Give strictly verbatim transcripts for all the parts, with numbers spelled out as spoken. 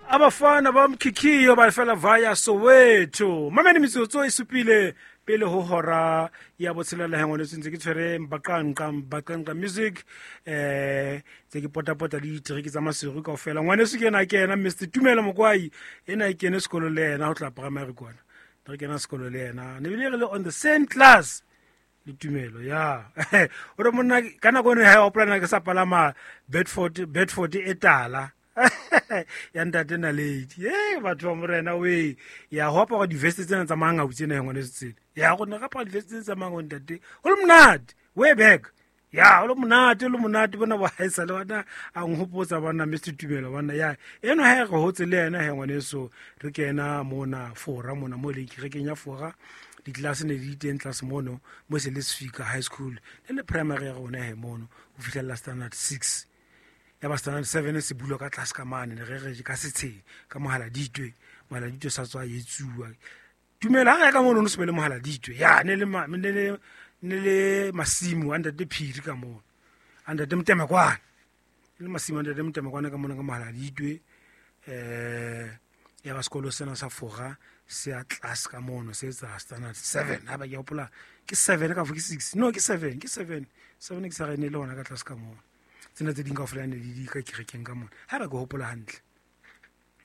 Abafana ba mkhikhiyo ba fela via Soweto. Mamene metsotso e supile pele ho hora ya botshelela hengwe le ntse ke tshwere mbaqanqa mbaqanqa music eh tse ke potapota le ditereke tsa Maseru kaofela. Ngwaneso ke ena ke ena Mister Tumelo Mokwai, ena e kene sekolo le yena ho tla primary kwana. Re kena sekolo le yena. Ne bile re le on the same class le Tumelo ya. O re monna ka nako eno ha o plana ke sa palama Bedford Bedford e tala. Ya ntate Naledi. Eh batho ba morena we. Ya ho apara di-vest tsena tsa mangau tsena ngwaneso tsena. Ya go ne ga apara di-vest tsena tsa mangau ntate. Ho le monate. Way back. Ya ho le monate le monate bona ba haesa le bana a nhopotsa bana Mister Tumelo bana ya. Eno ha re hotse le yena he ngwaneso re kena mona fora mona mo le kerekeng ya fora. Ditlelase ne di teng tlase mono mo se le Sefika High School le le primary ya rona he mono ho fihlella standard six. Ya ba standard seven se bulwa ka tlase ka mane ne re re ka setsheng ka mohala ditwe mohala ditwe sa tswa etsuwa. Tumelo ha re ka mono no se be le mohala ditwe ya ne le ne le ne le masimo a ntate Phiri ka mono a ntate Motemekwane le masimo a ntate Motemekwane ka mono ka mohala ditwe eh ya ba sekolo sena sa fora se a tlase ka mono se etsa standard seven ha ba ke hopola ke seven ka ke six no ke seven ke seven seven ke sa re ne le hona ka tlase ka mono. Tsena tse ding kaofela ne di di ka kerekeng ka mona ha ba ke hopola hantle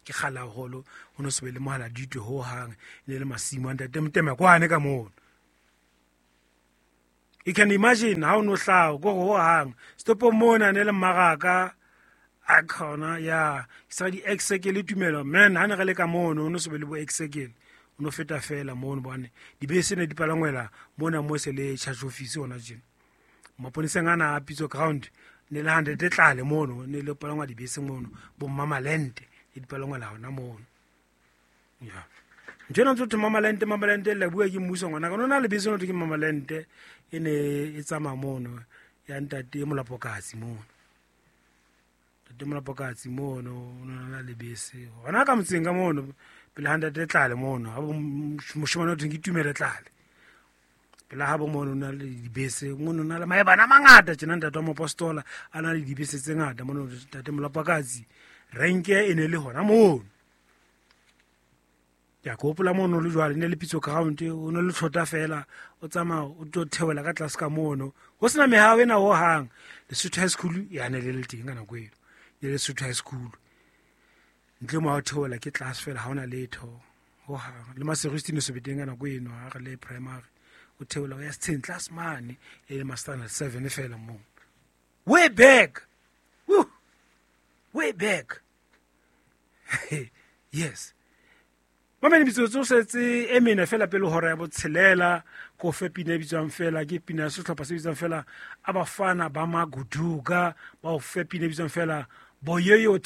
ke kgala haholo ho no se be le mohala ditwe ho hang ne le masimo a ntate Motemekwane ka mono. You can imagine how no hlaho go ho hang stopo mona ne le mmaraka a khona ya ke sa di ex-circle Tumelo man ha ne re le ka mono no se be le bo ex-circle o no feta fela mono bone dibese ne di palangwela mona mo se le charge office hona tjena maponeseng ana a Pitso ground ne le hundred tlale mono ne le palangwa dibese mono bo Mmamalente e di palangwela hona mono ya njena ntse Mmamalente Mmamalente le bua ke mmuso ngwana ka nona le bese no ke Mmamalente e ne e tsamaya mono ya ntate Molapokatsi mono ntate Molapokatsi mono o na le bese hona ka motseng ka mono pele hundred tlale mono ha moshemane o theng ke Tumelo tlale pele ha bo mono na le dibese mono na le maebana a mangata tjena ntate wa mopostola a na le dibese tse ngata mono ntate Molapokatsi renke e ne le hona mono. Ya ke hopola mono le jwale ne le Pitso ground o no le thota fela o tsamaya o tlo theola ka tlase ka mono ho sena mehao ena ho hang. Lesotho High School ya ne le le teng ka nako eno ne le Lesotho High School ntle mo ha o theola ke tlase fela ha hona letho ho hang le Maseru ne se be teng ka nako eno ha re le primary o theola o ya setsheng tlase mane e le ma standard seven fela mo way back. Woo! Way back. Yes. Mamene metsotso setse e mene fela pele hora ya botshelela ko fe pina e bitswang fela ke pina ya sehlopha se bitswang fela Abafana ba Maguduga ba o fe pina e bitswang fela Boyoyo.